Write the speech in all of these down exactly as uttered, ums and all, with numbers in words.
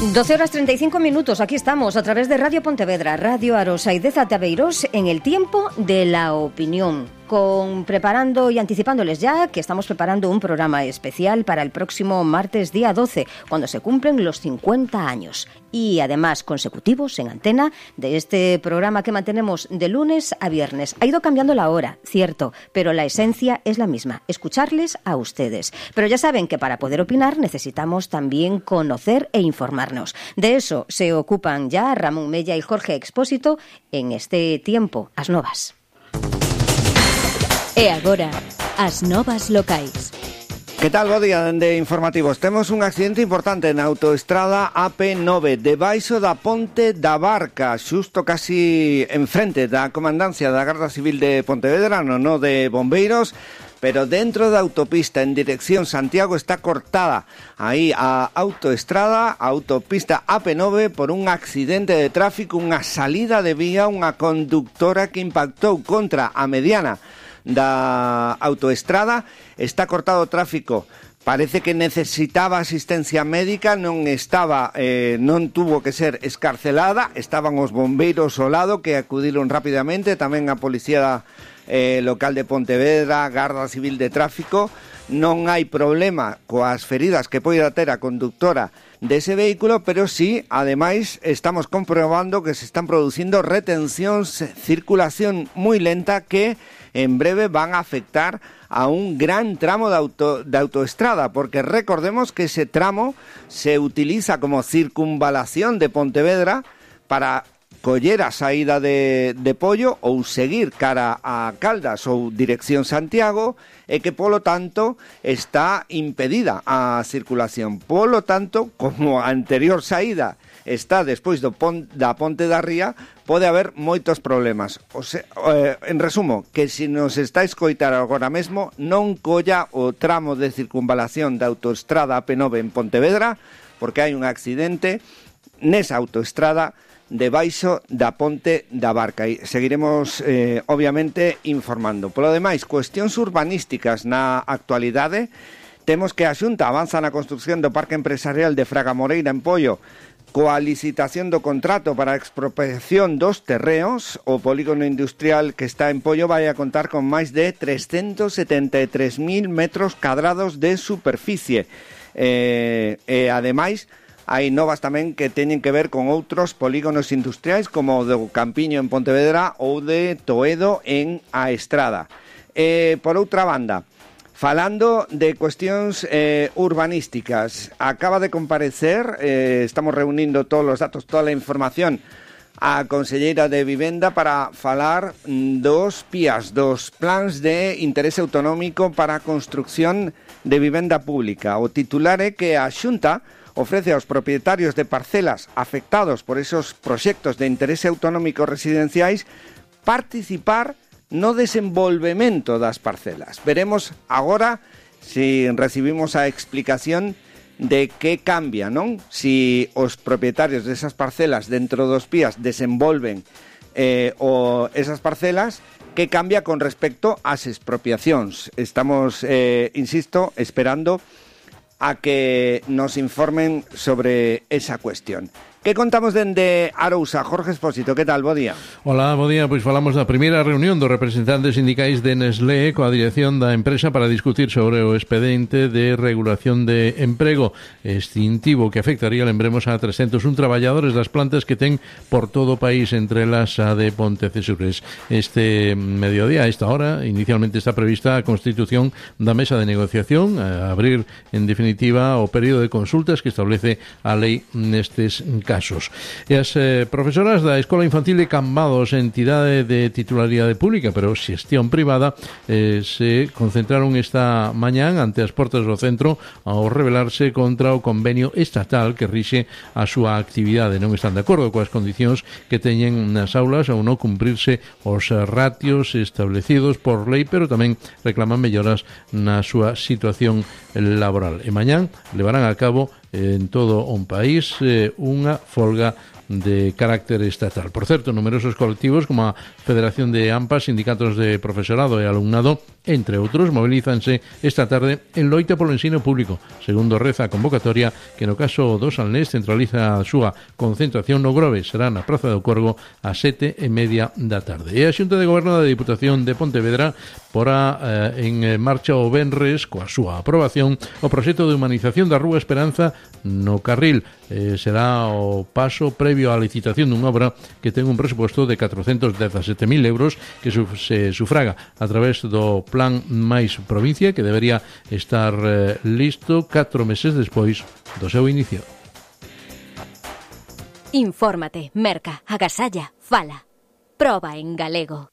doce horas treinta y cinco minutos, aquí estamos a través de Radio Pontevedra, Radio Arosa y de Zataveiros en el tiempo de la opinión. Con preparando y anticipándoles ya que estamos preparando un programa especial para el próximo martes día doce, cuando se cumplen los cincuenta años. Y además consecutivos en antena de este programa que mantenemos de lunes a viernes. Ha ido cambiando la hora, cierto, pero la esencia es la misma, escucharles a ustedes. Pero ya saben que para poder opinar necesitamos también conocer e informarnos. De eso se ocupan ya Ramón Mella y Jorge Expósito en este tiempo, As Novas. E agora, as novas locais. Que tal, bo día de informativos. Temos un accidente importante na autoestrada A P nove, debaixo da Ponte da Barca, xusto casi enfrente da Comandancia da Garda Civil de Pontevedra, no, no de Bombeiros, pero dentro da autopista en dirección Santiago está cortada aí a autoestrada, a autopista A P nove, por un accidente de tráfico, unha salida de vía, unha conductora que impactou contra a mediana da autoestrada. Está cortado o tráfico, parece que necesitaba asistencia médica, non estaba, eh, non tuvo que ser escarcelada, estaban os bombeiros ao lado que acudiron rapidamente, tamén a Policía eh, Local de Pontevedra, Garda Civil de Tráfico. Non hai problema coas feridas que poida ter a conductora dese vehículo, pero sí, ademais, estamos comprobando que se están producindo retencións, circulación moi lenta que en breve van a afectar a un gran tramo de, auto, de autoestrada, porque recordemos que ese tramo se utiliza como circunvalación de Pontevedra para coller a saída de, de Pollo ou seguir cara a Caldas ou dirección Santiago, e que polo tanto está impedida a circulación. Polo tanto, como a anterior saída está despois do pon, da Ponte da Ría, pode haber moitos problemas. O sea, eh, en resumo, que se nos está a escoitar agora mesmo, non colla o tramo de circunvalación da autoestrada A P nove en Pontevedra, porque hai un accidente nesa autoestrada debaixo da Ponte da Barca. E seguiremos, eh, obviamente, informando. Polo demais, cuestións urbanísticas na actualidade. Temos que a Xunta avanza na construción do Parque Empresarial de Fraga Moreira en Pollo, coa licitación do contrato para a expropiación dos terreos. O polígono industrial que está en Pollo vai a contar con máis de trescentos setenta e tres mil metros cadrados de superficie. Eh, e, ademais, hai novas tamén que teñen que ver con outros polígonos industriais, como o do Campiño en Pontevedra ou de Toedo en A Estrada. Eh, por outra banda, falando de cuestións eh, urbanísticas, acaba de comparecer, eh, estamos reunindo todos os datos, toda a información, a conselleira de Vivenda para falar dos P I As, dos plans de interese autonómico para a construcción de vivenda pública. O titular é que a Xunta ofrece aos propietarios de parcelas afectados por esos proxectos de interese autonómico residenciais participar no desenvolvemento das parcelas. Veremos agora si recibimos a explicación de que cambia, non? Si os propietarios desas parcelas dentro dos P I As desenvolven eh, o esas parcelas, que cambia con respecto ás expropiacións. Estamos, eh, insisto, esperando a que nos informen sobre esa cuestión. Que contamos dende Arousa? Jorge Expósito, que tal? Bo día. Hola, bo día. Pois falamos da primeira reunión dos representantes sindicais de Nestlé coa dirección da empresa para discutir sobre o expediente de regulación de emprego extintivo que afectaría, lembremos, a trescentos un traballadores das plantas que ten por todo o país, entre elas a de Pontecesures. Este mediodía, a esta hora, inicialmente está prevista a constitución da mesa de negociación, a abrir, en definitiva, o período de consultas que establece a lei nestes casos. casos. E as eh, profesoras da Escola Infantil de Cambados, entidade de titularidade pública, pero xestión privada, eh, se concentraron esta mañán ante as portas do centro ao rebelarse contra o convenio estatal que rixe a súa actividade. Non están de acordo coas condicións que teñen nas aulas ao non cumprirse os ratios establecidos por lei, pero tamén reclaman melloras na súa situación laboral. E mañán levarán a cabo en todo un país eh, unha folga de carácter estatal. Por certo, numerosos colectivos como a Federación de AMPA, sindicatos de profesorado e alumnado, entre outros, mobilízanse esta tarde en loita polo ensino público, segundo reza a convocatoria que no caso do Salnés centraliza a súa concentración no Grove. Será na Praza do Corgo a sete e media da tarde. E a Xunta de Goberno da Diputación de Pontevedra porá eh, en marcha o venres, coa súa aprobación, o proxecto de humanización da Rúa Esperanza no Carril. Eh, será o paso previo á licitación dunha obra que ten un presuposto de catrocentos dezasete mil euros que su, se sufraga a través do Plan Máis Provincia, que debería estar eh, listo catro meses despois do seu inicio. Infórmate, merca, agasalla, fala. Proba en galego.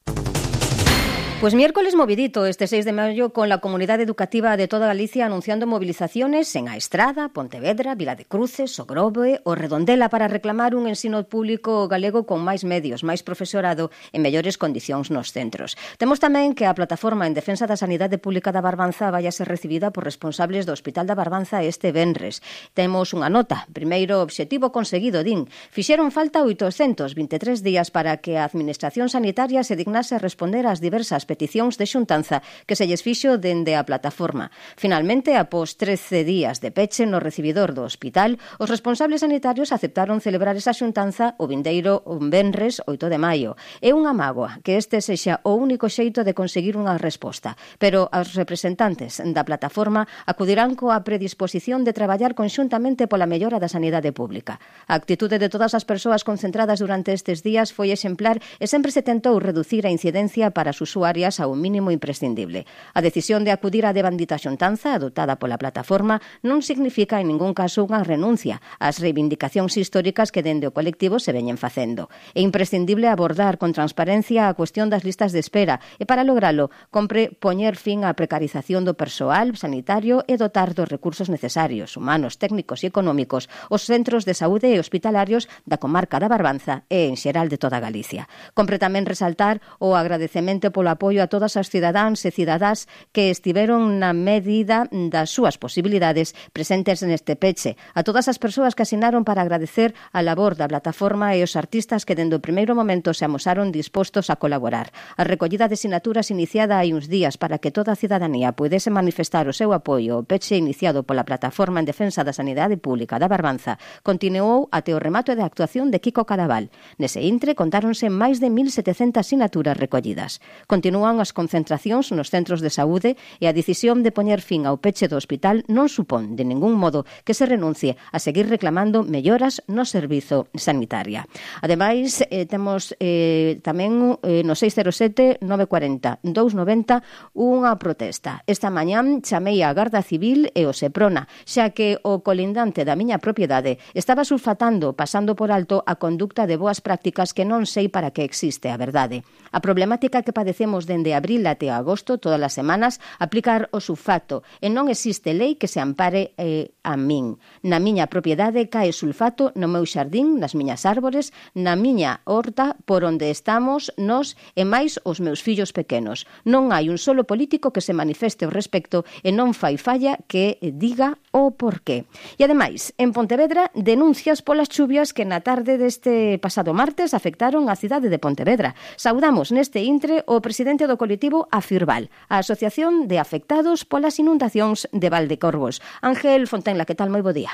Pues miércoles movidito este seis de mayo con la comunidad educativa de toda Galicia anunciando movilizaciones en A Estrada, Pontevedra, Vila de Cruces, o Grove o Redondela para reclamar un ensino público galego con máis medios, máis profesorado e mellores condicións nos centros. Temos tamén que a plataforma en defensa da sanidade pública da Barbanza vai a ser recibida por responsables do Hospital da Barbanza este venres. Temos unha nota. Primeiro obxectivo conseguido, din. Fixeron falta oitocentos vinte e tres días para que a Administración Sanitaria se dignase a responder ás diversas peticións de xuntanza que se lles fixo dende a plataforma. Finalmente, após trece días de peche no recibidor do hospital, os responsables sanitarios aceptaron celebrar esa xuntanza o vindeiro venres oito de maio. É unha mágoa que este sexa o único xeito de conseguir unha resposta, pero os representantes da plataforma acudirán coa predisposición de traballar conxuntamente pola mellora da sanidade pública. A actitude de todas as persoas concentradas durante estes días foi exemplar e sempre se tentou reducir a incidencia para as usuarias a un mínimo imprescindible. A decisión de acudir á devandita xuntanza adoptada pola plataforma non significa en ningún caso unha renuncia ás reivindicacións históricas que dende o colectivo se veñen facendo. É imprescindible abordar con transparencia a cuestión das listas de espera e para logralo compre poñer fin á precarización do persoal sanitario e dotar dos recursos necesarios, humanos, técnicos e económicos os centros de saúde e hospitalarios da comarca da Barbanza e en xeral de toda Galicia. Compre tamén resaltar o agradecemento polo apoio a todas as cidadáns e cidadás que estiveron na medida das súas posibilidades presentes neste peche, a todas as persoas que asinaron para agradecer a labor da plataforma e os artistas que dende o primeiro momento se amosaron dispostos a colaborar. A recollida de sinaturas iniciada hai uns días para que toda a cidadanía pudese manifestar o seu apoio ao peche iniciado pola plataforma en defensa da sanidade pública da Barbanza continuou até o remato de actuación de Kiko Cadaval. Nese intre contáronse máis de mil setecentas sinaturas recollidas. Continúan as concentracións nos centros de saúde e a decisión de poñer fin ao peche do hospital non supón de ningún modo que se renuncie a seguir reclamando melloras no servizo sanitaria. Ademais, eh, temos eh, tamén eh, no seis cero sete nove cuatro cero dous nove cero unha protesta. Esta mañán chamei a Garda Civil e o Seprona, xa que o colindante da miña propiedade estaba sulfatando, pasando por alto a conducta de boas prácticas que non sei para que existe, a verdade. A problemática que padecemos dende abril até agosto, todas as semanas, aplicar o sulfato e non existe lei que se ampare eh, a min. Na miña propiedade cae sulfato no meu xardín, nas miñas árbores, na miña horta, por onde estamos nós e máis os meus fillos pequenos. Non hai un solo político que se manifeste ao respecto e non fai falla que diga o porqué. E ademais, en Pontevedra, denuncias polas chuvias que na tarde deste pasado martes afectaron a cidade de Pontevedra. Saudamos neste intre o presidente do colectivo Afirval, a Asociación de Afectados polas Inundacións de Valdecorvos. Ángel Fontenla, que tal? Moi bo día.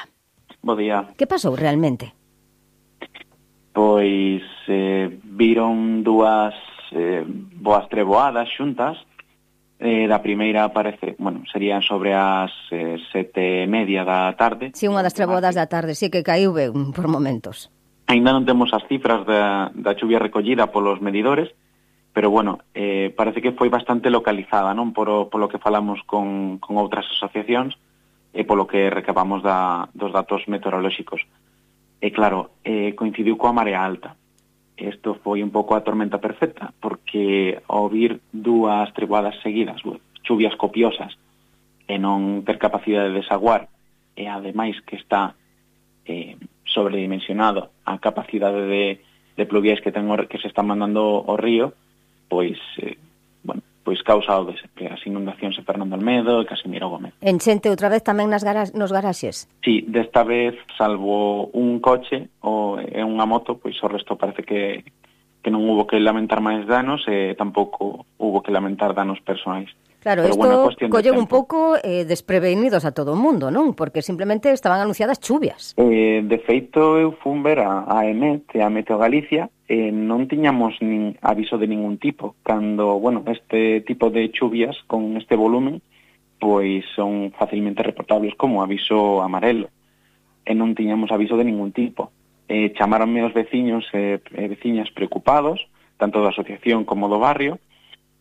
Bo día. Que pasou realmente? Pois eh, viron dúas eh, boas treboadas xuntas. Eh, da primeira parece, bueno, serían sobre as eh, sete e media da tarde. Si, sí, unha das treboadas da tarde, si sí que caiu ben por momentos. Ainda non temos as cifras da, da chuvia recollida polos medidores, pero bueno, eh, parece que foi bastante localizada, non? Por, polo que falamos con, con outras asociacións e polo que recabamos da, dos datos meteorolóxicos. E claro, eh, coincidiu coa marea alta. Isto foi un pouco a tormenta perfecta, porque ao vir dúas treboadas seguidas, chuvias copiosas, e non ter capacidade de desaguar, e ademais que está eh, sobredimensionado a capacidade de, de pluviais que, ten, que se están mandando ao río, pois, eh, bueno, pois causado as inundacións de Fernando Almedo e Casimiro Gómez. Enchente outra vez tamén nas gara nos garaxes? Sí, desta vez, salvo un coche ou e unha moto, pois o resto parece que, que non hubo que lamentar máis danos e tampouco hubo que lamentar danos personais. Claro, Pero, isto bueno, colle un pouco eh, desprevenidos a todo o mundo, non? Porque simplemente estaban anunciadas chuvias. Eh, de feito, eu fun ver a, a EMET e a Meteo Galicia e non tiñamos nin aviso de ningún tipo. Cando, bueno, este tipo de chuvias con este volumen, pois son facilmente reportables como aviso amarelo. E non tiñamos aviso de ningún tipo. Eh, chamaronme os veciños e eh, veciñas preocupados, tanto da asociación como do barrio,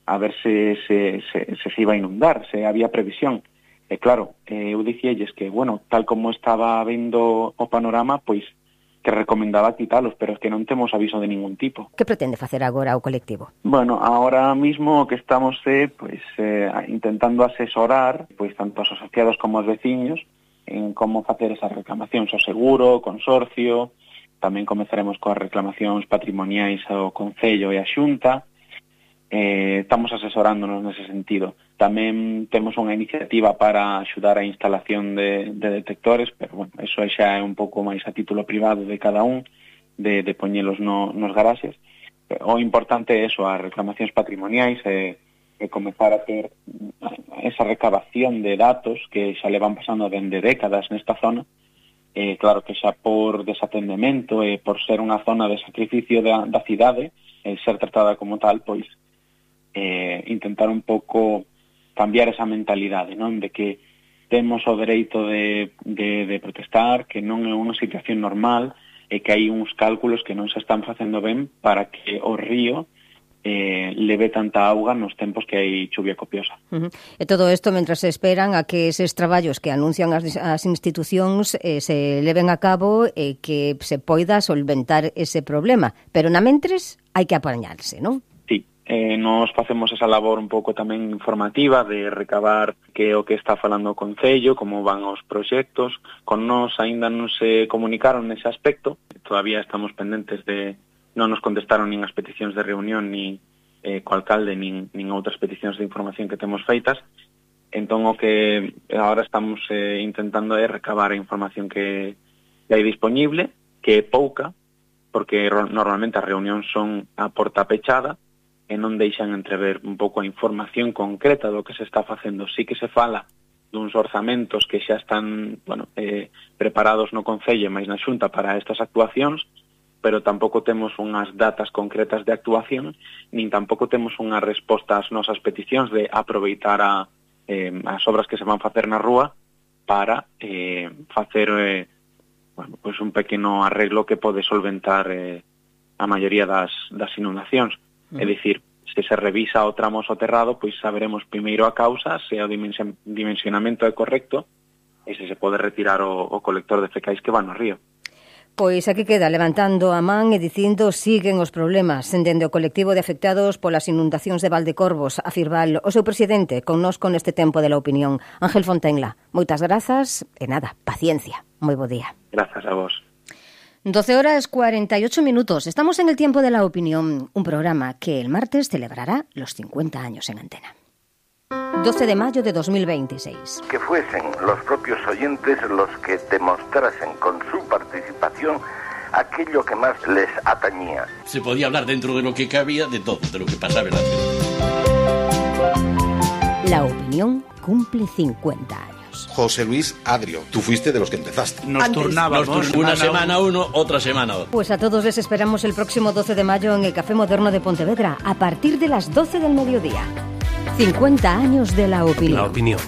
a ver se se, se, se, se iba a inundar, se había previsión. E claro, eh, eu dicíalles que, bueno, tal como estaba vendo o panorama, pois que recomendaba quitalos, pero es que non temos aviso de ningún tipo. Que pretende facer agora o colectivo? Bueno, ahora mismo o que estamos é, pois, eh, intentando asesorar, pois, tanto os asociados como os veciños, en como facer esas reclamacións ao seguro, ao consorcio, tamén comezaremos coas reclamacións patrimoniais ao Concello e a Xunta. Eh, estamos asesorándonos nese sentido. Tamén temos unha iniciativa para axudar a instalación de, de detectores, pero bueno, eso xa é un pouco máis a título privado de cada un, de, de poñelos no, nos garaxes. O importante é eso, as reclamacións patrimoniais e, e comezar a ter esa recabación de datos que xa le van pasando dende décadas nesta zona. Eh, claro que xa por desatendemento e por ser unha zona de sacrificio da, da cidade e ser tratada como tal, pois Eh, intentar un pouco cambiar esa mentalidade, non? De que temos o dereito de, de, de protestar, que non é unha situación normal e que hai uns cálculos que non se están facendo ben para que o río eh, leve tanta auga nos tempos que hai chuvia copiosa. Uh-huh. E todo isto mentras se esperan a que eses traballos que anuncian as, as institucións eh, se leven a cabo e que se poida solventar ese problema. Pero na mentres hai que apañarse, non? Eh, nos facemos esa labor un pouco tamén informativa de recabar que o que está falando o Concello, como van os proxectos. Con nós aínda non se comunicaron nese aspecto, todavía estamos pendentes de... Non nos contestaron nin as peticións de reunión, nin eh, co alcalde, nin, nin outras peticións de información que temos feitas. Entón, o que agora estamos eh, intentando é recabar a información que hai disponible, que é pouca, porque normalmente as reunións son a porta pechada, e non deixan entrever un pouco a información concreta do que se está facendo. Sí que se fala duns orzamentos que xa están, bueno, eh, preparados no Concello e máis na Xunta para estas actuacións, pero tampouco temos unhas datas concretas de actuación, nin tampouco temos unha resposta ás nosas peticións de aproveitar a, eh, as obras que se van facer na rúa para eh, facer eh, bueno, pues un pequeno arreglo que pode solventar eh, a maioría das, das inundacións. É dicir, se se revisa o tramo soterrado, pois saberemos primeiro a causa, se o dimension, dimensionamento é correcto e se se pode retirar o, o colector de fecais que va no río. Pois aquí queda levantando a man e dicindo siguen os problemas dende o colectivo de afectados polas inundacións de Valdecorvos, a Firval, o seu presidente, connosco neste tempo de la opinión, Ángel Fontenla. Moitas grazas e nada, paciencia. Moi bo día. Grazas a vos. doce horas cuarenta y ocho minutos. Estamos en el tiempo de la opinión, un programa que el martes celebrará los cincuenta años en antena. doce de mayo de dos mil veintiséis. Que fuesen los propios oyentes los que demostrasen con su participación aquello que más les atañía. Se podía hablar dentro de lo que cabía de todo, de lo que pasaba en la ciudad. La opinión cumple cincuenta años. José Luis Adrio, tú fuiste de los que empezaste. Nos turnábamos. Nos tur- una semana uno, otra semana otro. Pues a todos les esperamos el próximo doce de mayo en el Café Moderno de Pontevedra, a partir de las doce del mediodía. cincuenta años de la opinión. La opinión.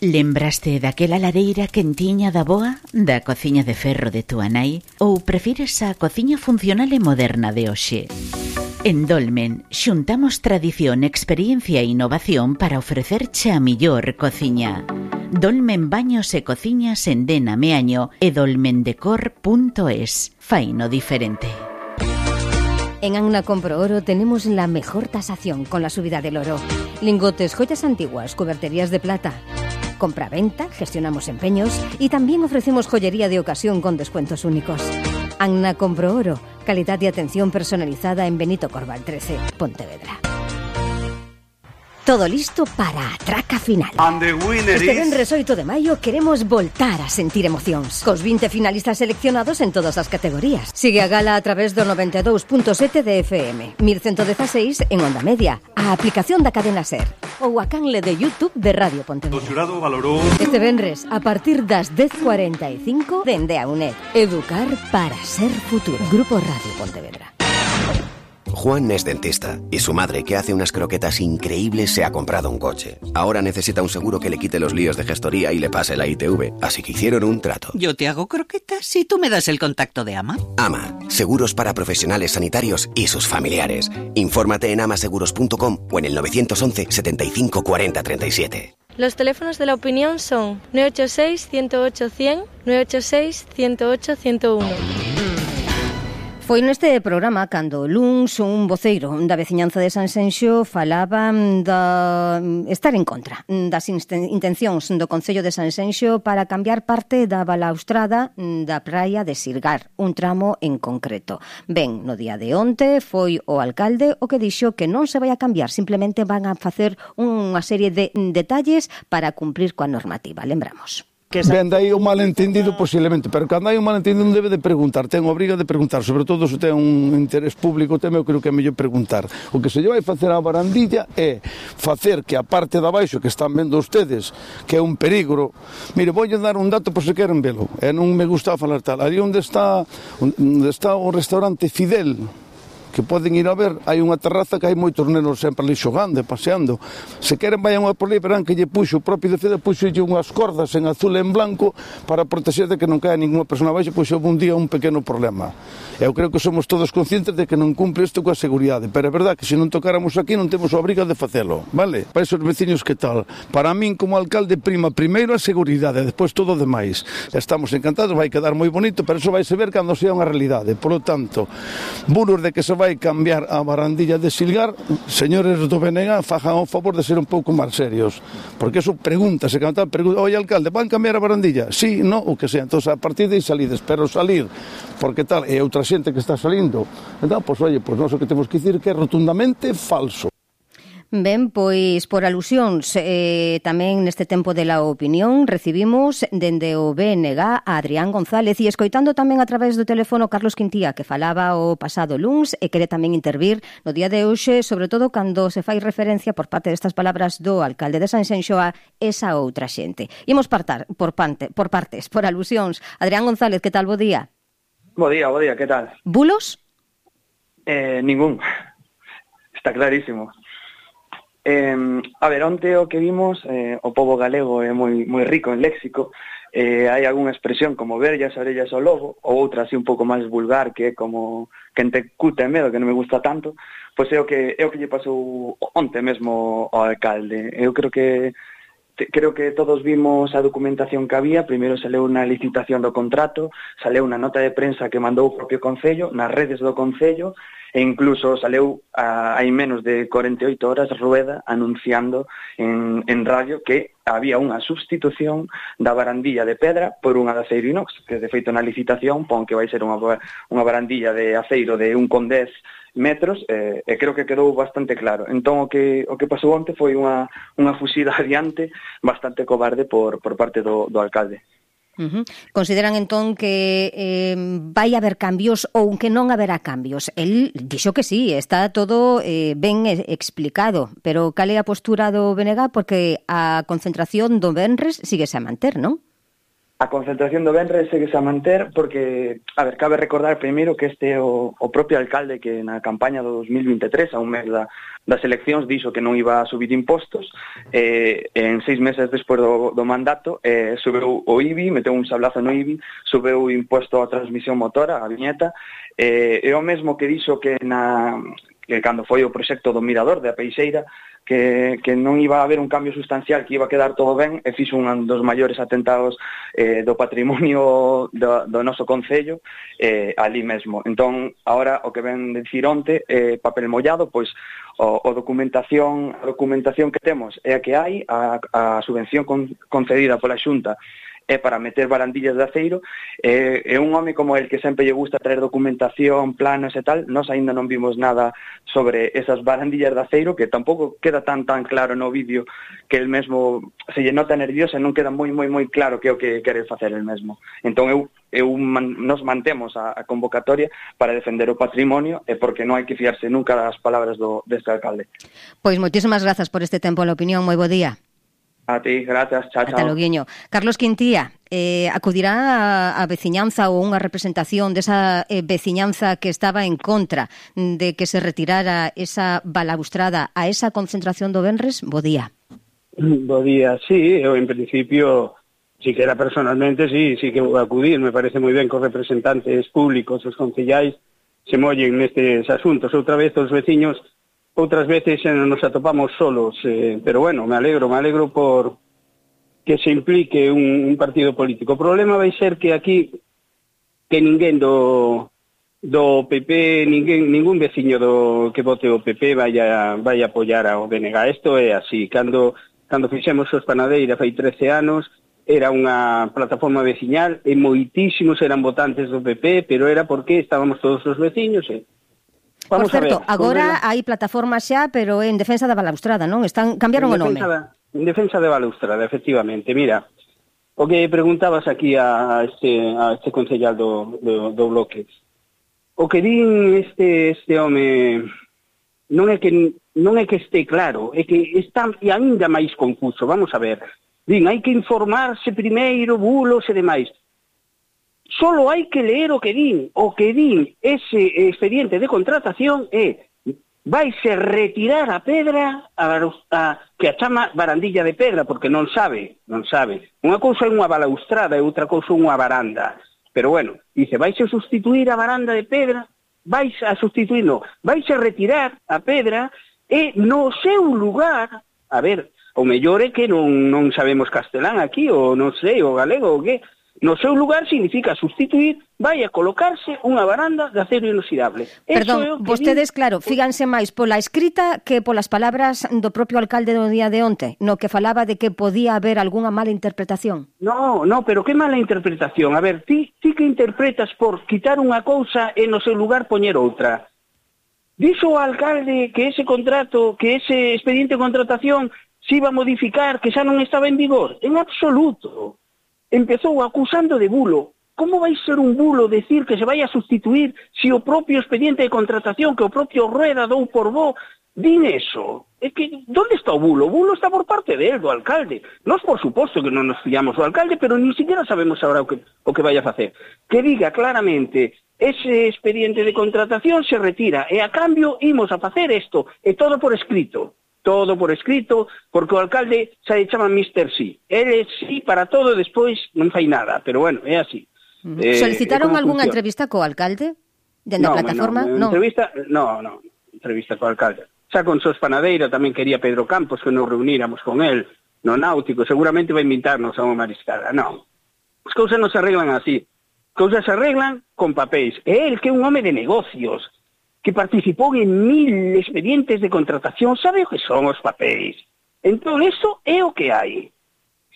Lembraste daquela lareira quentiña da boa, da cociña de ferro de túa nai, ou prefires a cociña funcional e moderna de hoxe? En Dolmen xuntamos tradición, experiencia e innovación para ofrecerche a millor cociña. Dolmen Baños e Cociñas en Dena Meaño e dolmendecor punto es. Faino diferente. En Anna Compro Oro tenemos la mejor tasación con la subida del oro. Lingotes, joyas antiguas, cuberterías de plata. Compra-venta, gestionamos empeños y también ofrecemos joyería de ocasión con descuentos únicos. Anna Compro Oro, calidad y atención personalizada en Benito Corval trece, Pontevedra. Todo listo para a traca final. And the winner este is... venres oito de maio queremos voltar a sentir emocións cos vinte finalistas seleccionados en todas as categorías. Sigue a gala a través do noventa e dous punto sete de F M, mil ciento dezaseis en onda media, a aplicación da cadena SER ou a canle de YouTube de Radio Pontevedra. O xurado valorou... Este venres, a partir das dez cuarenta e cinco, dende a UNED. Educar para ser futuro. Grupo Radio Pontevedra. Juan es dentista y su madre, que hace unas croquetas increíbles, se ha comprado un coche. Ahora necesita un seguro que le quite los líos de gestoría y le pase la I T V, así que hicieron un trato. Yo te hago croquetas y tú me das el contacto de AMA. AMA, seguros para profesionales sanitarios y sus familiares. Infórmate en amaseguros punto com o en el nueve once, setenta y cinco, cuarenta, treinta y siete. Los teléfonos de la opinión son nueve ocho seis, ciento ocho, cien, nueve ocho seis, ciento ocho, ciento uno. Foi neste programa cando luns un voceiro da veciñanza de Sanxenxo falaba da estar en contra das intencións do Concello de Sanxenxo para cambiar parte da balaustrada da praia de Sirgar, un tramo en concreto. Ben, no día de onte foi o alcalde o que dixo que non se vai a cambiar, simplemente van a facer unha serie de detalles para cumprir coa normativa, lembramos. Ben, dai o malentendido posiblemente, pero cando hai un malentendido non debe de preguntar, ten obriga de preguntar, sobre todo se ten un interés público, teme, eu creo que é mellor preguntar. O que se lle vai facer á barandilla é facer que a parte de abaixo que están vendo ustedes, que é un peligro, mire, voulle dar un dato por se queren velo, e non me gusta falar tal, ali onde está, onde está o restaurante Fidel, que poden ir a ver, hai unha terraza que hai moitos nenos sempre ali xogando e paseando. Se queren vayan a por ali, verán que lle puxo o propio de Fede, puxolle unhas cordas en azul e en blanco para proteger de que non caia ninguna persona abaixo, pois houve un día un pequeno problema. Eu creo que somos todos conscientes de que non cumpre isto coa seguridade, pero é verdad que se non tocáramos aquí non temos a obriga de facelo, vale? Para esos veciños que tal. Para min como alcalde prima primeiro a seguridade, despois todo o demais. Estamos encantados, vai quedar moi bonito, pero eso vai se ver cando sea unha realidade. Por lo tanto, buros de que se vai cambiar a barandilla de Silgar, señores do B N G, fajan o favor de ser un pouco máis serios, porque eso pregunta, se canta, pregunta, oye alcalde, van cambiar a barandilla? Sí, no, o que sea, entonces a partir de aí salides, pero salir, porque tal, e outra xente que está salindo, entón, pois, oye, pois nós o que temos que dicir que é rotundamente falso. Ben, pois por alusións eh, tamén neste tempo de la opinión recibimos dende o B N G a Adrián González e escoitando tamén a través do teléfono Carlos Quintía, que falaba o pasado luns e quere tamén intervir no día de hoxe, sobre todo cando se fai referencia por parte destas palabras do alcalde de Sanxenxo a esa outra xente. Imos partar por, pante, por partes, por alusións. Adrián González, que tal? Bo día. Bo día, bo día, que tal? Bulos? Eh, ningún. Está clarísimo. Eh, a ver, onte o que vimos, eh, o pobo galego é moi moi rico en léxico, eh, hai algunha expresión como ver as orellas ao lobo, ou outra así un pouco máis vulgar, que é como quen te cute medo, que non me gusta tanto, pois é o que é o que lle pasou onte mesmo ao alcalde. Eu creo que te, creo que todos vimos a documentación que había, primeiro saleu unha licitación do contrato, saleu unha nota de prensa que mandou o propio Concello, nas redes do Concello, e incluso saleu a, hai menos de corenta e oito horas Rueda anunciando en, en radio que había unha sustitución da barandilla de pedra por unha de aceiro inox, que de feito na licitación pon que vai ser unha, unha barandilla de aceiro de un con dez metros, eh, e creo que quedou bastante claro. Entón o que o que pasou onte foi unha, unha fuxida adiante bastante cobarde por, por parte do, do alcalde. Uh-huh. Consideran entón que eh, vai haber cambios ou que non haberá cambios? El dixo que sí, está todo eh, ben explicado, pero cal é a postura do B N G? Porque a concentración do venres síguese a manter, non? A concentración do venres síguese a manter porque, a ver, cabe recordar primeiro que este é o, o propio alcalde que na campaña do dos mil vinte e tres, a un mes da, das eleccións, dixo que non iba a subir impostos, eh, en seis meses despois do, do mandato eh, subeu o I B I, meteu un sablazo no I B I, subeu o imposto á transmisión motora, a viñeta, eh, e o mesmo que dixo que na que cando foi o proxecto do Mirador de a Peixeira, que, que non iba a haber un cambio sustancial, que iba a quedar todo ben, e fixo un dos maiores atentados eh, do patrimonio do, do noso Concello eh, ali mesmo. Entón, agora o que ven dicir onte, eh, papel mollado, pois o, o documentación, a documentación que temos é a que hai, a, a subvención con, concedida pola Xunta é para meter barandillas de aceiro, e, e un home como el que sempre lle gusta traer documentación, planos e tal, nós aínda non vimos nada sobre esas barandillas de aceiro, que tampouco queda tan tan claro no vídeo, que el mesmo se lle nota nervioso e non queda moi moi moi claro que é o que quere facer el mesmo. Entón eu, eu man, nos mantemos a, a convocatoria para defender o patrimonio, e porque non hai que fiarse nunca das palabras do, deste alcalde. Pois moitísimas grazas por este tempo a la opinión, moi bo día. A ti, gracias, chao, chao. Ata loguiño. Carlos Quintía, eh, acudirá a, a veciñanza ou unha representación desa eh, veciñanza que estaba en contra de que se retirara esa balaustrada a esa concentración do venres? Bo día. Bo día, sí, eu en principio, si que era personalmente, sí, sí que vou acudir, me parece moi ben que os representantes públicos, os concellais, se mollen nestes asuntos. Outra vez os veciños, outras veces nos atopamos solos, eh, pero bueno, me alegro, me alegro por que se implique un, un partido político. O problema vai ser que aquí, que ninguén do, do P P, ninguén, ningún veciño do que vote o P P vai a, vai a apoiar ao B N G. Isto é así, cando, cando fixemos os Panadeira fai trece anos, era unha plataforma veciñal e moitísimos eran votantes do P P, pero era porque estábamos todos os veciños e Vamos Por certo, agora hai plataforma xa, pero en defensa da balaustrada, non? Están cambiaron o nome. Da, en defensa da balaustrada, efectivamente. Mira, o que preguntabas aquí a este, a este concellal do, do, do bloque. O que din este, este home non é que non é que este claro, é que está ainda máis confuso. Vamos a ver. Din, hai que informarse primeiro, bulos e demais. Solo hai que ler o que din. O que din ese expediente de contratación é vaise retirar a pedra a, a, que a chama barandilla de pedra, porque non sabe, non sabe. Unha cousa é unha balaustrada e outra cousa é unha baranda. Pero bueno, dice, vaise sustituir a baranda de pedra, vaise a sustituir, no, vaise retirar a pedra e no seu lugar, a ver, o mellor é que non, non sabemos castelán aquí, ou non sei, o galego, o que... No seu lugar significa sustituir, vai a colocarse unha baranda de acero inoxidable. Perdón, vostedes, claro, fíganse máis pola escrita que polas palabras do propio alcalde do día de onte, no que falaba de que podía haber algunha mala interpretación. No, no, pero que mala interpretación? A ver, ti, ti que interpretas por quitar unha cousa e no seu lugar poñer outra. Dixo o alcalde que ese contrato, que ese expediente de contratación se iba a modificar, que xa non estaba en vigor. En absoluto. Empezou acusando de bulo. Como vai ser un bulo decir que se vai a sustituir se o propio expediente de contratación que o propio Rueda dou por bo din eso? É que, onde está o bulo? O bulo está por parte de él, do alcalde. Nós, por suposto, que non nos fiamos do alcalde, pero ni siquiera sabemos agora o que, o que vai a facer. Que diga claramente, ese expediente de contratación se retira, e a cambio imos a facer isto, e todo por escrito. Todo por escrito, porque o alcalde xa lle chama mister Sí. Ele sí para todo, despois non fai nada, pero bueno, é así. Uh -huh. eh, Solicitaron algunha funciona? entrevista co alcalde? Dende no, a plataforma? No, no, entrevista, no, no, entrevista co alcalde. Xa con Sos Panadeira tamén quería Pedro Campos que nos reuníramos con él no náutico, seguramente vai invitarnos a unha mariscada. Non, as cousas non se arreglan así. As cousas se arreglan con papéis. E el, que é un home de negocios, que participou en mil expedientes de contratación, sabe o que son os papéis. Entón, eso é o que hai.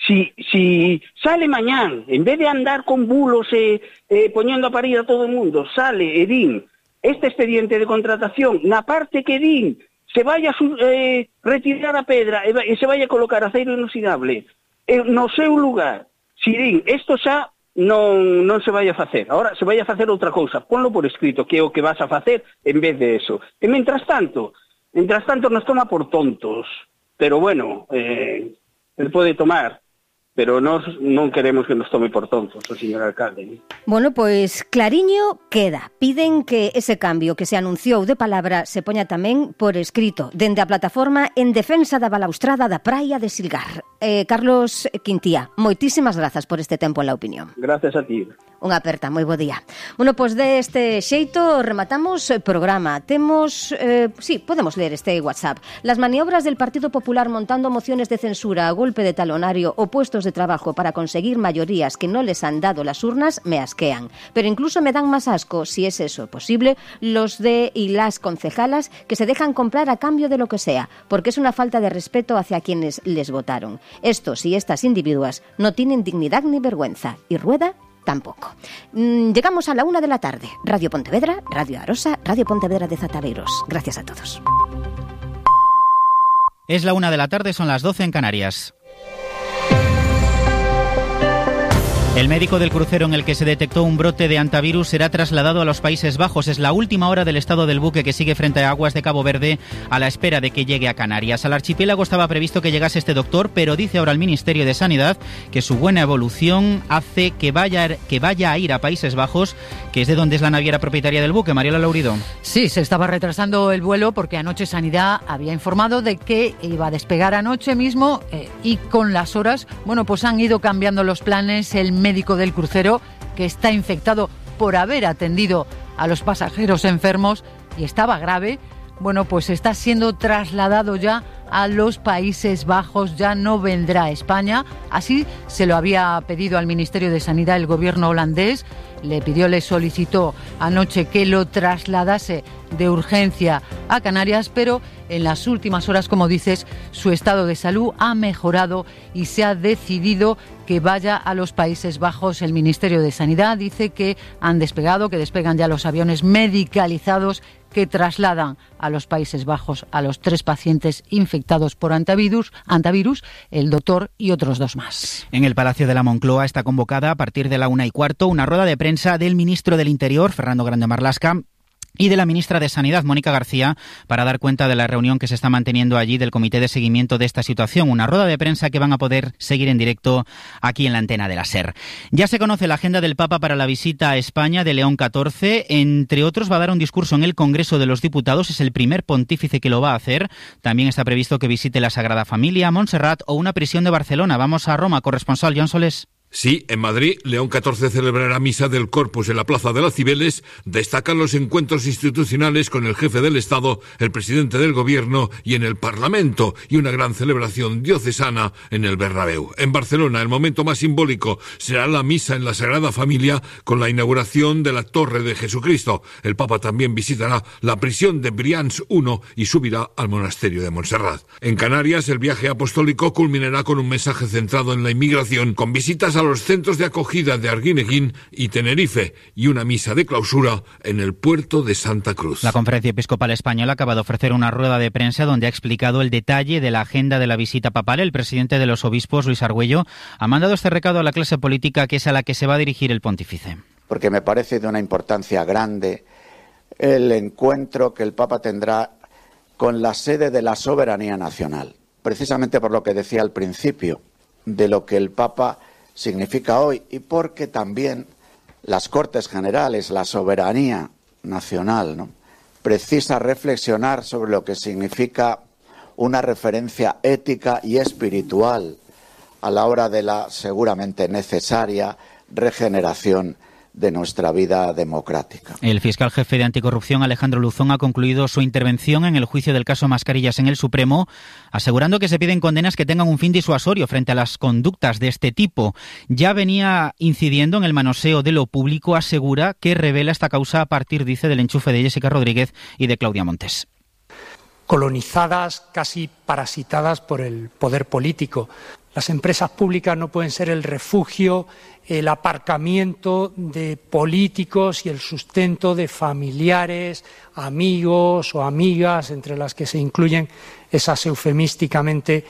Si, si sale mañán, en vez de andar con bulos e eh, poñendo a parir a todo o mundo, sale e din este expediente de contratación, na parte que din se vai a eh, retirar a pedra e, e se vai a colocar aceiro inoxidable eh, no seu lugar, si din, isto xa non, non se vai a facer. Ahora se vai a facer outra cousa, ponlo por escrito, que é o que vas a facer en vez de eso. E mentras tanto, mentras tanto nos toma por tontos, pero bueno, eh, el pode tomar, pero nós non queremos que nos tome por tontos o señor alcalde. Bueno, pois clariño queda. Piden que ese cambio que se anunciou de palabra se poña tamén por escrito, dende a plataforma en defensa da balaustrada da praia de Silgar. Eh, Carlos Quintía, moitísimas grazas por este tempo en La Opinión. Gracias a ti. Unha aperta, moi bo día. Bueno, pois deste xeito rematamos o programa. Temos, eh, sí, podemos ler este WhatsApp. Las maniobras del Partido Popular montando mociones de censura a golpe de talonario opuestos métodos de trabajo para conseguir mayorías que no les han dado las urnas me asquean. Pero incluso me dan más asco, si es eso posible, los de y las concejalas que se dejan comprar a cambio de lo que sea, porque es una falta de respeto hacia quienes les votaron. Estos y estas individuas no tienen dignidad ni vergüenza, y Rueda tampoco. Llegamos a la una de la tarde. Radio Pontevedra, Radio Arosa, Radio Pontevedra de Zataveiros. Gracias a todos. Es la una de la tarde, son las doce en Canarias. El médico del crucero en el que se detectó un brote de hantavirus será trasladado a los Países Bajos. Es la última hora del estado del buque que sigue frente a aguas de Cabo Verde a la espera de que llegue a Canarias. Al archipiélago estaba previsto que llegase este doctor, pero dice ahora el Ministerio de Sanidad que su buena evolución hace que vaya, que vaya a ir a Países Bajos, que es de donde es la naviera propietaria del buque. Mariela Laurido. Sí, se estaba retrasando el vuelo porque anoche Sanidad había informado de que iba a despegar anoche mismo eh, y con las horas, bueno, pues han ido cambiando los planes. El médico del crucero, que está infectado por haber atendido a los pasajeros enfermos y estaba grave, bueno, pues está siendo trasladado ya a los Países Bajos, ya no vendrá a España. Así se lo había pedido al Ministerio de Sanidad el gobierno holandés. Le pidió, le solicitó anoche que lo trasladase de urgencia a Canarias, pero en las últimas horas, como dices, su estado de salud ha mejorado y se ha decidido que vaya a los Países Bajos. El Ministerio de Sanidad dice que han despegado, que despegan ya los aviones medicalizados que trasladan a los Países Bajos a los tres pacientes infectados por hantavirus, hantavirus, el doctor y otros dos más. En el Palacio de la Moncloa está convocada a partir de la una y cuarto una rueda de prensa del ministro del Interior, Fernando Grande Marlaska, y de la ministra de Sanidad, Mónica García, para dar cuenta de la reunión que se está manteniendo allí del Comité de Seguimiento de esta situación. Una rueda de prensa que van a poder seguir en directo aquí en la antena de la SER. Ya se conoce la agenda del Papa para la visita a España de León catorce. Entre otros, va a dar un discurso en el Congreso de los Diputados. Es el primer pontífice que lo va a hacer. También está previsto que visite la Sagrada Familia, Montserrat o una prisión de Barcelona. Vamos a Roma, corresponsal John Solés. Sí, en Madrid, León catorce celebrará misa del Corpus en la Plaza de las Cibeles. Destacan los encuentros institucionales con el jefe del Estado, el presidente del Gobierno y en el Parlamento, y una gran celebración diocesana en el Bernabéu. En Barcelona, el momento más simbólico será la misa en la Sagrada Familia con la inauguración de la Torre de Jesucristo. El Papa también visitará la prisión de Brians primero y subirá al monasterio de Montserrat. En Canarias, el viaje apostólico culminará con un mensaje centrado en la inmigración, con visitas a a los centros de acogida de Arguineguín y Tenerife y una misa de clausura en el puerto de Santa Cruz. La Conferencia Episcopal Española acaba de ofrecer una rueda de prensa donde ha explicado el detalle de la agenda de la visita papal. El presidente de los obispos, Luis Argüello, ha mandado este recado a la clase política, que es a la que se va a dirigir el pontífice. Porque me parece de una importancia grande el encuentro que el Papa tendrá con la sede de la soberanía nacional. Precisamente por lo que decía al principio, de lo que el Papa significa hoy, y porque también las Cortes Generales, la soberanía nacional, ¿no?, precisa reflexionar sobre lo que significa una referencia ética y espiritual a la hora de la seguramente necesaria regeneración de nuestra vida democrática. El fiscal jefe de anticorrupción, Alejandro Luzón, ha concluido su intervención en el juicio del caso Mascarillas en el Supremo, asegurando que se piden condenas que tengan un fin disuasorio frente a las conductas de este tipo. Ya venía incidiendo en el manoseo de lo público, asegura que revela esta causa a partir, dice, del enchufe de Jessica Rodríguez y de Claudia Montes. Colonizadas, casi parasitadas por el poder político. Las empresas públicas no pueden ser el refugio, el aparcamiento de políticos y el sustento de familiares, amigos o amigas, entre las que se incluyen esas eufemísticamente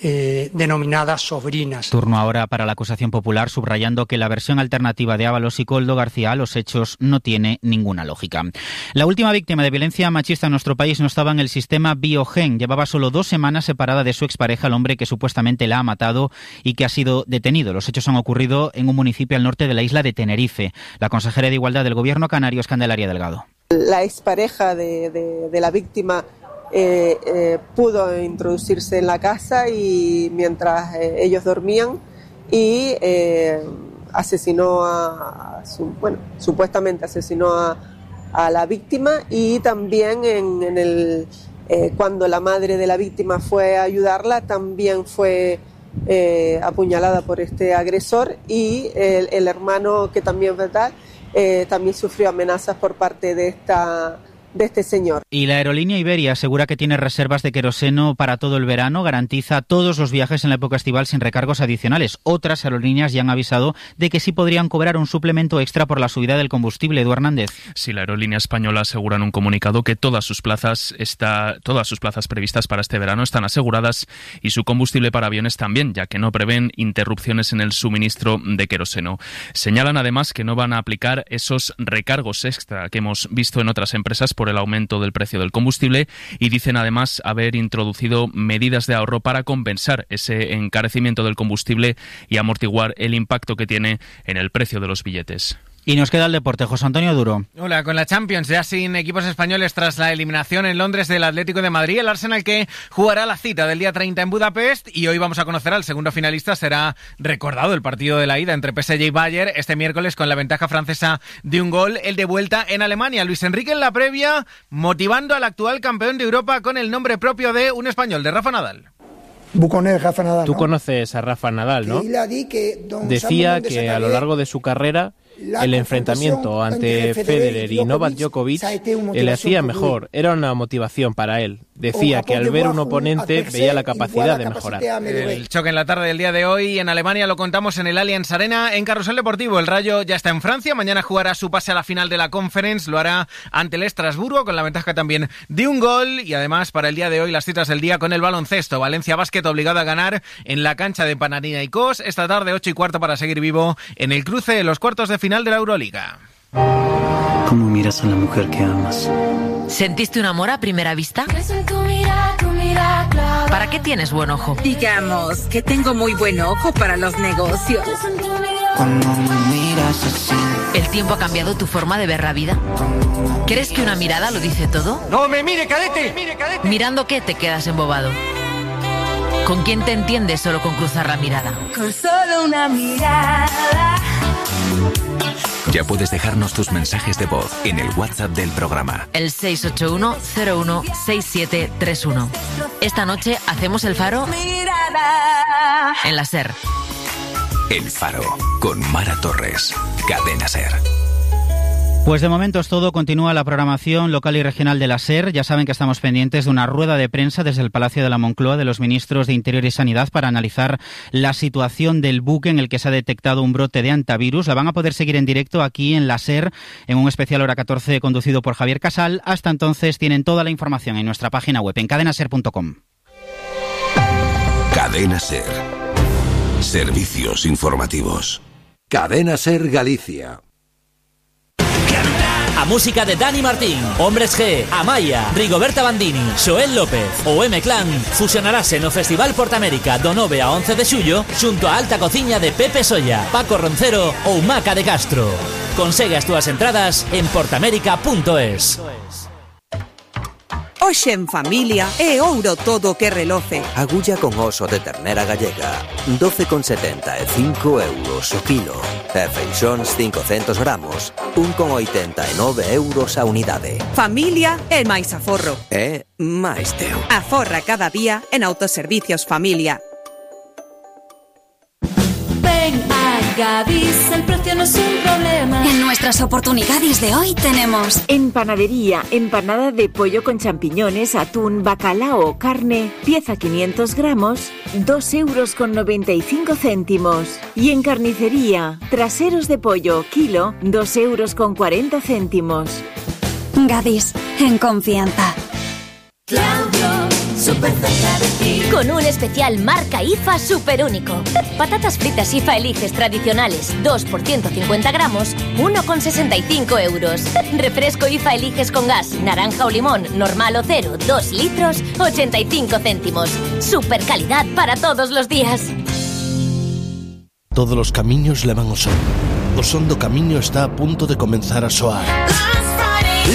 Eh, denominadas sobrinas. Turno ahora para la acusación popular, subrayando que la versión alternativa de Ábalos y Koldo García a los hechos no tiene ninguna lógica. La última víctima de violencia machista en nuestro país no estaba en el sistema Biogen. Llevaba solo dos semanas separada de su expareja, el hombre que supuestamente la ha matado y que ha sido detenido. Los hechos han ocurrido en un municipio al norte de la isla de Tenerife. La consejera de Igualdad del Gobierno canario es Candelaria Delgado. La expareja de, de, de la víctima Eh, eh, pudo introducirse en la casa y mientras eh, ellos dormían y eh, asesinó a, a su, bueno, supuestamente asesinó a, a la víctima, y también en, en el eh, cuando la madre de la víctima fue a ayudarla también fue eh, apuñalada por este agresor, y el, el hermano, que también, ¿verdad?, eh, también sufrió amenazas por parte de esta de este señor. Y la aerolínea Iberia asegura que tiene reservas de queroseno para todo el verano, garantiza todos los viajes en la época estival sin recargos adicionales. Otras aerolíneas ya han avisado de que sí podrían cobrar un suplemento extra por la subida del combustible. Edu Hernández. Sí, la aerolínea española asegura en un comunicado que todas sus plazas está, todas sus plazas previstas para este verano están aseguradas y su combustible para aviones también, ya que no prevén interrupciones en el suministro de queroseno. Señalan además que no van a aplicar esos recargos extra que hemos visto en otras empresas por el aumento del precio del combustible, y dicen además haber introducido medidas de ahorro para compensar ese encarecimiento del combustible y amortiguar el impacto que tiene en el precio de los billetes. Y nos queda el deporte. José Antonio Duro. Hola, con la Champions ya sin equipos españoles tras la eliminación en Londres del Atlético de Madrid, el Arsenal que jugará la cita del día treinta en Budapest, y hoy vamos a conocer al segundo finalista. Será recordado el partido de la ida entre P S G y Bayern este miércoles con la ventaja francesa de un gol, el de vuelta en Alemania. Luis Enrique en la previa motivando al actual campeón de Europa con el nombre propio de un español, de Rafa Nadal. Buconet, Rafa Nadal, ¿no? Tú conoces a Rafa Nadal, ¿no? Decía que a lo largo de su carrera el enfrentamiento ante Federer y Novak Djokovic le hacía mejor, era una motivación para él. Decía que al ver un oponente veía la capacidad de mejorar. El choque en la tarde del día de hoy en Alemania lo contamos en el Allianz Arena. En Carrusel Deportivo, el Rayo ya está en Francia, mañana jugará su pase a la final de la Conference, lo hará ante el Estrasburgo con la ventaja también de un gol, y además para el día de hoy las citas del día con el baloncesto. Valencia Basket obligado a ganar en la cancha de Panathinaikos esta tarde ocho y cuarto para seguir vivo en el cruce de los cuartos de final de la Euroliga. ¿Cómo miras a la mujer que amas? ¿Sentiste un amor a primera vista? ¿Para qué tienes buen ojo? Digamos que tengo muy buen ojo para los negocios. Cuando me miras así. ¿El tiempo ha cambiado tu forma de ver la vida? ¿Crees que una mirada lo dice todo? ¡No me mire, cadete! ¡Mire, cadete! ¿Mirando qué te quedas embobado? ¿Con quién te entiendes solo con cruzar la mirada? Con solo una mirada. Ya puedes dejarnos tus mensajes de voz en el WhatsApp del programa. El seis ocho uno cero uno seis siete tres uno. Esta noche hacemos el Faro Mirada. en la SER. El Faro, con Mara Torres. Cadena SER. Pues de momento es todo. Continúa la programación local y regional de la SER. Ya saben que estamos pendientes de una rueda de prensa desde el Palacio de la Moncloa de los ministros de Interior y Sanidad para analizar la situación del buque en el que se ha detectado un brote de hantavirus. La van a poder seguir en directo aquí en la SER, en un especial hora catorce conducido por Javier Casal. Hasta entonces tienen toda la información en nuestra página web en cadena ser punto com. Cadena SER. Servicios informativos. Cadena SER Galicia. A música de Dani Martín, Hombres G, Amaya, Rigoberta Bandini, Xoel López ou M-Clan fusionarase no Festival Portamérica do nove a once de xullo xunto a alta cociña de Pepe Solla, Paco Roncero ou Maca de Castro. Consegue as túas entradas en portamérica punto es. Hoxe en familia é ouro todo que reloce. Agulla con oso de ternera gallega, doce con setenta e cinco euros o kilo. E feixóns cincocentos gramos, un con oitenta e nove euros a unidade. Familia é máis aforro. É máis teu. Aforra cada día en Autoservicios Familia. Ven a Gadis, el precio no es un problema. En nuestras oportunidades de hoy tenemos en panadería, empanada de pollo con champiñones, atún, bacalao, carne, pieza quinientos gramos, dos euros con noventa y cinco céntimos. Y en carnicería, traseros de pollo, kilo, dos euros con cuarenta céntimos. Gadis, en confianza. Claudio, súper cerca de ti. Con un especial marca I F A súper único. Patatas fritas I F A Eliges tradicionales, dos por ciento cincuenta gramos, uno con sesenta y cinco euros. Refresco I F A Eliges con gas, naranja o limón, normal o cero, dos litros, ochenta y cinco céntimos. Super calidad para todos los días. Todos los camiños levan ao son. O son do camiño está a punto de comenzar a soar.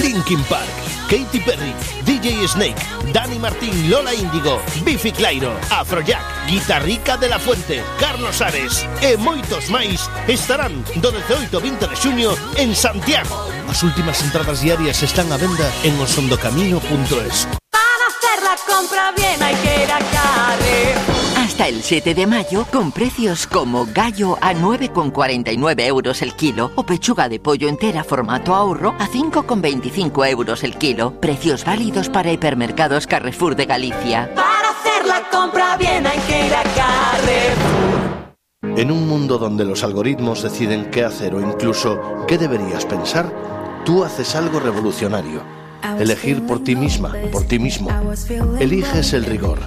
Linkin Park, Katy Perry, D J Snake, Dani Martín, Lola Índigo, Bifi Clyro, Afrojack, Guitarrica de la Fuente, Carlos Ares e moitos máis estarán do dezaoito ao vinte de xuño en Santiago. As últimas entradas diarias están á venda en osondocamiño punto es. Para hacer la compra bien hay que ir a Carre. Hasta hasta el siete de mayo con precios como gallo a nueve con cuarenta y nueve euros el kilo o pechuga de pollo entera formato ahorro a cinco con veinticinco euros el kilo. Precios válidos para hipermercados Carrefour de Galicia. Para hacer la compra bien hay que ir a Carrefour. En un mundo donde los algoritmos deciden qué hacer o incluso qué deberías pensar, tú haces algo revolucionario. Elegir por ti misma, por ti mismo. Eliges el rigor.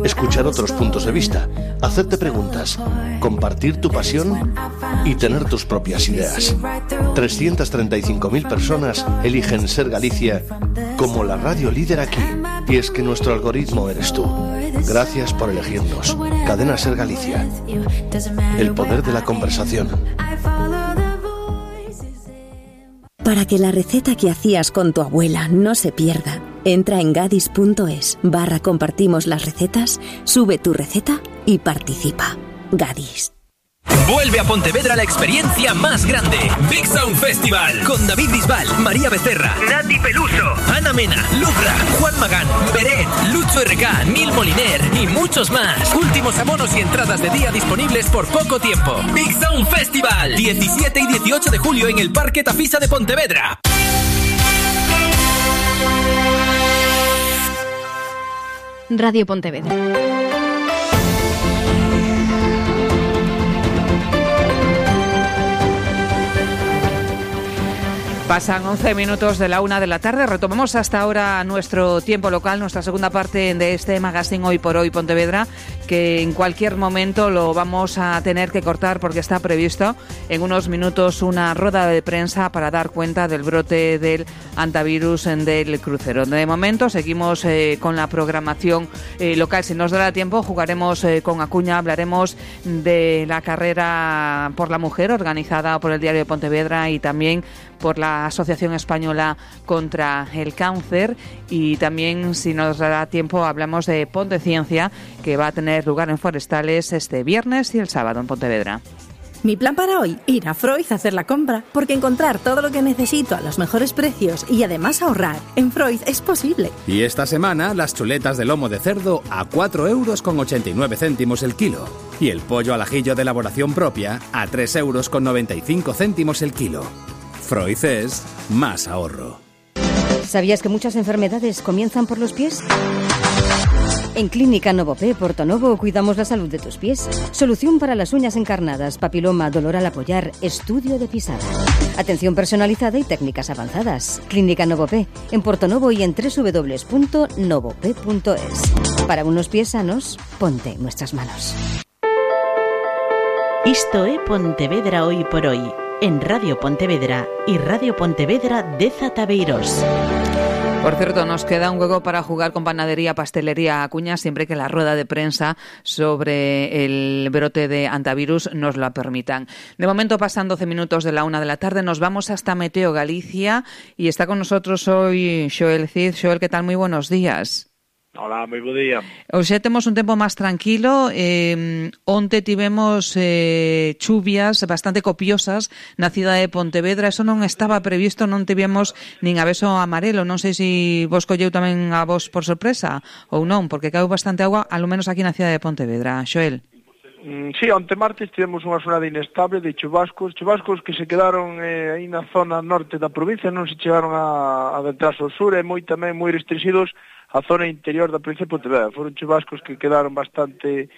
Escuchar otros puntos de vista. Hacerte preguntas. Compartir tu pasión y tener tus propias ideas. trescientas treinta y cinco mil personas eligen Ser Galicia como la radio líder aquí. Y es que nuestro algoritmo eres tú. Gracias por elegirnos. Cadena Ser Galicia. El poder de la conversación. Para que la receta que hacías con tu abuela no se pierda, entra en gadis.es barra compartimos las recetas, sube tu receta y participa. Gadis. Vuelve a Pontevedra la experiencia más grande. Big Sound Festival. Con David Bisbal, María Becerra, Nati Peluso, Ana Mena, Lucra, Juan Magán, Beret, Lucho R K, Neil Moliner y muchos más. Últimos abonos y entradas de día disponibles por poco tiempo. Big Sound Festival. diecisiete y dieciocho de julio en el Parque Tafisa de Pontevedra. Radio Pontevedra. Pasan once minutos de la una de la tarde. Retomamos hasta ahora nuestro tiempo local, nuestra segunda parte de este magazine Hoy por Hoy Pontevedra, que en cualquier momento lo vamos a tener que cortar porque está previsto en unos minutos una rueda de prensa para dar cuenta del brote del antivirus del crucero. De momento seguimos eh, con la programación eh, local. Si nos dará tiempo, jugaremos eh, con Acuña, hablaremos de la carrera por la mujer organizada por el Diario de Pontevedra y también por la Asociación Española contra el Cáncer, y también, si nos dará tiempo, hablamos de Ponte Ciencia, que va a tener lugar en Forestales este viernes y el sábado en Pontevedra. Mi plan para hoy, ir a Freud a hacer la compra, porque encontrar todo lo que necesito a los mejores precios y además ahorrar en Freud es posible. Y esta semana las chuletas de lomo de cerdo a cuatro euros con ochenta y nueve céntimos el kilo y el pollo al ajillo de elaboración propia a tres euros con noventa y cinco céntimos el kilo. Freud es más ahorro. ¿Sabías que muchas enfermedades comienzan por los pies? En Clínica Novopé Portonovo cuidamos la salud de tus pies. Solución para las uñas encarnadas, papiloma, dolor al apoyar, estudio de pisada. Atención personalizada y técnicas avanzadas. Clínica Novopé en Portonovo y en doble u doble u doble u punto novopé punto es. Para unos pies sanos, ponte en nuestras manos. Isto é Pontevedra Hoy por Hoy, en Radio Pontevedra y Radio Pontevedra de Zatabeirós. Por cierto, nos queda un juego para jugar con Panadería Pastelería Acuña siempre que la rueda de prensa sobre el brote de antivirus nos lo permitan. De momento pasan doce minutos de la una de la tarde, nos vamos hasta Meteo Galicia y está con nosotros hoy Xoel Cid. Xoel, ¿qué tal? Muy buenos días. Hola, moi bo día. Hoxe temos un tempo máis tranquilo. Eh, onte tivemos eh, chuvias bastante copiosas na cidade de Pontevedra. Eso non estaba previsto, non tivemos nin aviso amarelo. Non sei se vos colleu tamén a vos por sorpresa ou non, porque caeu bastante agua, alo menos aquí na cidade de Pontevedra. Xoel. Mm, sí, onte martes tivemos unha xornada inestable de chubascos, chubascos que se quedaron eh, aí na zona norte da provincia, non se chegaron a adentrarse ao sur, e moi tamén moi restringidos a zona interior da provincia de Pontevedra. Foron chubascos que quedaron bastante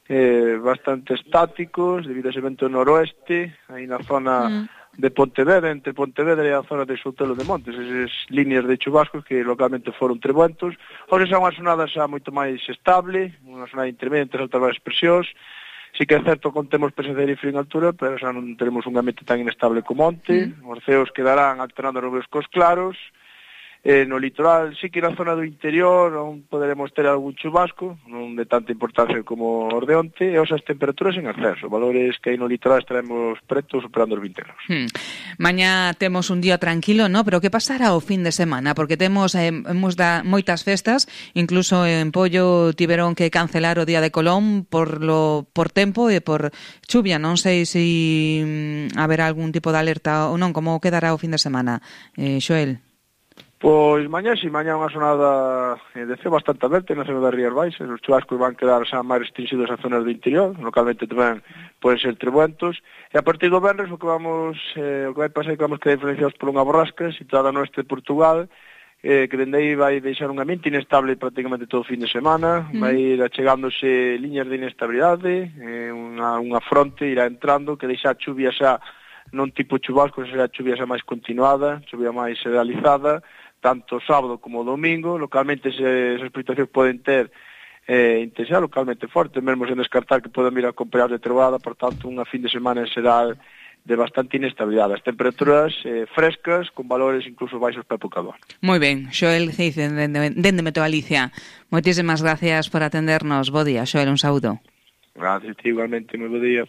eh, bastante estáticos debido a ese vento noroeste, aí na zona mm. de Pontevedra, entre Pontevedra e a zona de Soutelo de Montes, esas líneas de chubascos que localmente foron trebuentos. Hoxe xa unha xornada xa moito máis estable, unha xornada intermedia entre altas varias presións. Sí que é certo que temos presencia de frío en altura, pero xa non teremos un ambiente tan inestable como onte. Mm. Os ceos quedarán alternando nubes cos claros. Eh, no litoral, sí que na zona do interior non poderemos ter algún chubasco, non de tanta importancia como os de onte, e os as temperaturas en ascenso, valores que aí no litoral estaremos pretos superando os vinte graus. Hmm. Mañá temos un día tranquilo, ¿no? Pero que pasará o fin de semana? Porque temos eh, da, moitas festas, incluso en Pollo tiveron que cancelar o Día de Colón por lo por tempo e por chuvia. Non sei se si, mm, haberá algún tipo de alerta ou non, como quedará o fin de semana, eh, Xoel? Pois mañá, si mañá unha xornada eh, de ceo bastante aberta na zona das Rías Baixas, os chubascos van quedar xa máis restringidos a zonas do interior, localmente tamén poden ser trebuentos, e a partir do venres o que vamos, eh, o que vai pasar é que vamos quedar influenciados por unha borrasca situada no oeste de Portugal, eh, que dende aí vai deixar un ambiente inestable prácticamente todo o fin de semana, mm. vai ir achegándose liñas de inestabilidade, eh, unha, unha fronte irá entrando que deixa a chuvia xa non tipo chubasco, será chuvia xa máis continuada, chuvia máis generalizada, tanto sábado como domingo, localmente se, esas precipitacións poden ter eh, intensidade localmente forte, mesmo sen descartar que poden vir a acompañar de trovada, por tanto, unha fin de semana será de bastante inestabilidade. As temperaturas eh, frescas, con valores incluso baixos para época do ano. Moi ben, Xoel Ceiz, dende Meteo Galicia. Moitísimas gracias por atendernos. Bo día, Xoel, un saúdo. Gracias, igualmente, moi bo día.